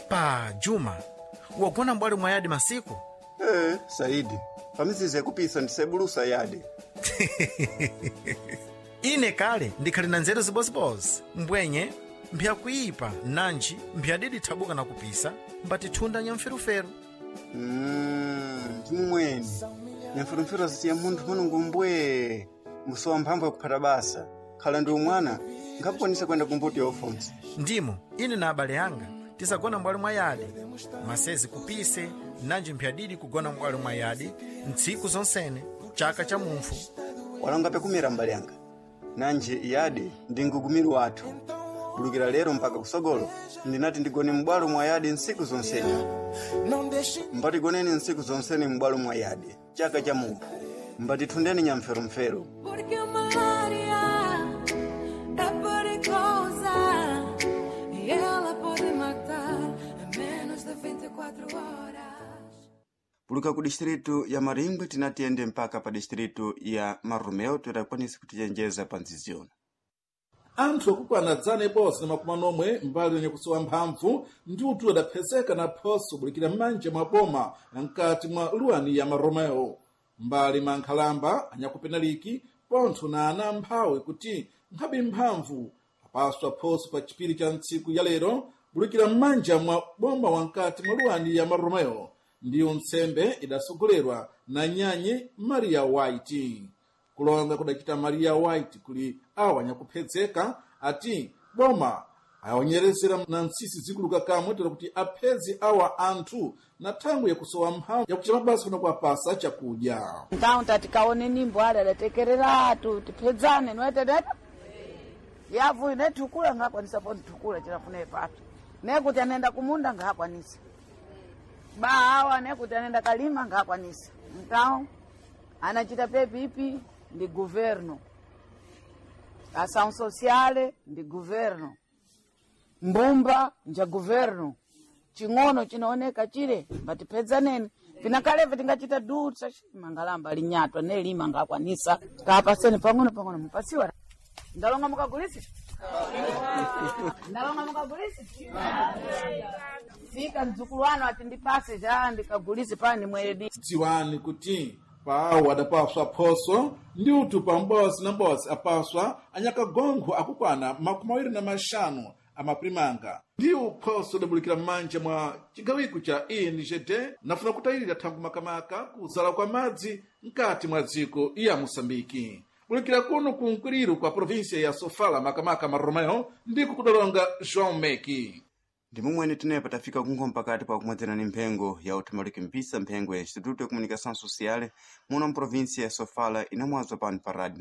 Epa Juma, wagona mbwali mwayadi masiku. Ee, Saidi, pamizizi yakupisa ndisebulusa yadi. Ine kale ndikhali na nzeru zibozibozi mbwenye mpyakuipa nanji mpyadidi thabuka na kupisa mbatithunda nyamferuferu. Ndimumweni nyamferumferu azitiya munthu manungo mbwee musowa mphamvu yakuphata basa khala ndi umwana nkakukwanisa kuyenda kumbuto ya ufonsi. Ndimo ine na abale anga tisagona mbwali mwa yadi masezi kupise nanji mpyadidi kugona mbwali mwa yadi ntsiku zonsene chaka cha mumpfu. Walonga pekumira mbali yanga nanji yadi ndi mgugumiro wathu bulukira lero mpaka kusogolo ndinati ndigone m'bwalo mwa yadi ntsiku zonsene. Mbatigoneni ntsiku zonsene m'bwalo mwa yadi chaka cha mumphu mbatithundeni nyamferumferu. Porque uma área é perigosa e ela pode matar em menos de 24 horas. Puluka ku distritu ya Maringwe tinatiyende mpaka pa distritu ya Marumeo tidakwanisa kutichenjeza pa nziziona. Anthu akukwana 140 mbali yenye kusowa mphamvu ndi utu adaphezeka na phoso bulikira m'manja mwa boma mkati mwa luwani ya Maromeo mbali mwa nkhalamba anyakupenaliki pontho na ana amphawi kuti nkhabe mphamvu apaswa phoso pa chipiri cha ntsiku ya lero bulikira m'manja mwa boma wankati mwa luwani ya Maromeo. Ndiyo ntsembe idasogolerwa na nyanyi Maria White. Kulonga kudachita Maria White kuli awa anyakuphedzeka ati boma aonyerezera na ntsisi zikuluka kamwe tera kuti aphedze awa anthu na thangwi yakusowa mphamvu yakucha mabasa kuna kuwapasa chakudya. Então tatikaone nimbo ali adatekereratu tiphedzane noetedeta yavu ine thukula ngakwanisa po nthukula chilafuna ipatu nekuti anenda kumunda ngakwanisa bahawa nekuti anenda kalima ngakwanisa. Então anachita pepipi ndi governo, ação sociale ndi governo, mbumba nja governo, ching'ono chinaoneka chile mbatipedzaneni vinakaleve tingachita dutsa mangalamba linyatwa nelima ngakwanisa kapaseni pang'ono pang'ono mupasiwa. Ndalonga mukagulisi, ndalonga mukagulisi fika mdzukulu wanu ati ndipase cha ndikagulisi pani mwedi. Dziwani kuti pawo adapaswa phoso ndi utu pa m'bozi na m'bozi apaswa anyakagonkho akukwana 25 amaprimanga ndiwo phoso idabulikira m'manja mwa chigawiko cha INGD nafuna kutayirira thangu makamaka kuzala kwa madzi mkati mwa dziko iya Moçambike. Bulikira kuno ku nkwiriro kwa província ya Sofala makamaka Maromeo ndiko kudalonga João Meki. Ndimumweni tinepa tafika kunkho mpakati pa kumwedzera ni mphengo ya uthumaliki mpisa mphengo ya Instituto ya Comunicação Social muno mprovíncia ya Sofala inamwazwa pano pa rádio.